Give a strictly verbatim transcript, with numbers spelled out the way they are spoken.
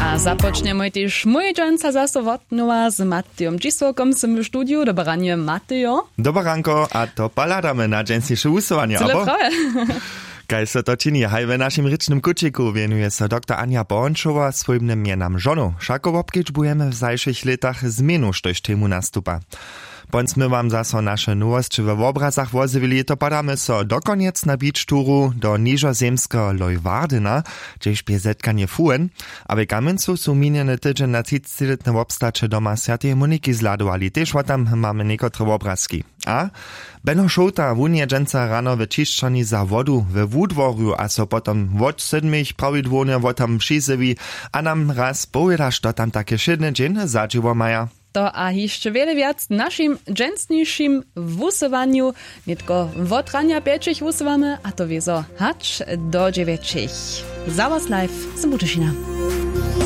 A započnjemoj tež mój dźensa zaso wotnowa z Matejom Dźisołkom sym w studiju. Dobre ranje, Matejo. Dobre ranko, a to pohladamy na dźensniše wusyłanje, abo? Kaž so to čini haj w našim rěčnym kućiku, wjenuje so doktor Anja Bornčowa swójbnym mjenam žonow. Wšako wobkedźbujemy w zašich lětach změnu, štož temu nastupa. Pon smy wam zaso naše nowosće we wobrazach wozjewili, to padamy so dokonjec na beach touru do nižozemskeho Leeuwardena, hdźež bě zetkanje fuhen. A w Kamjencu su minjeny tydźeń na třicećilětne wobstaće doma swjateje Moniki zhladowali, tež wo tam mamy někotre wobrazki. A Beno Šołta, wón je dźensa rano w ćišćarni za wodu we Wudworju a so potom wot sydmich prawidłownje wo tam přizjewi a nam raz powěda, što tam take wšědny dźeń za dźěło maja. To a hišće wjele wjac w našim dźensnišim wusyłanju. Nětko wot ranja pjećich wusyłamy, a to wězo hač do dźewjećich. Za was live z Budyšina.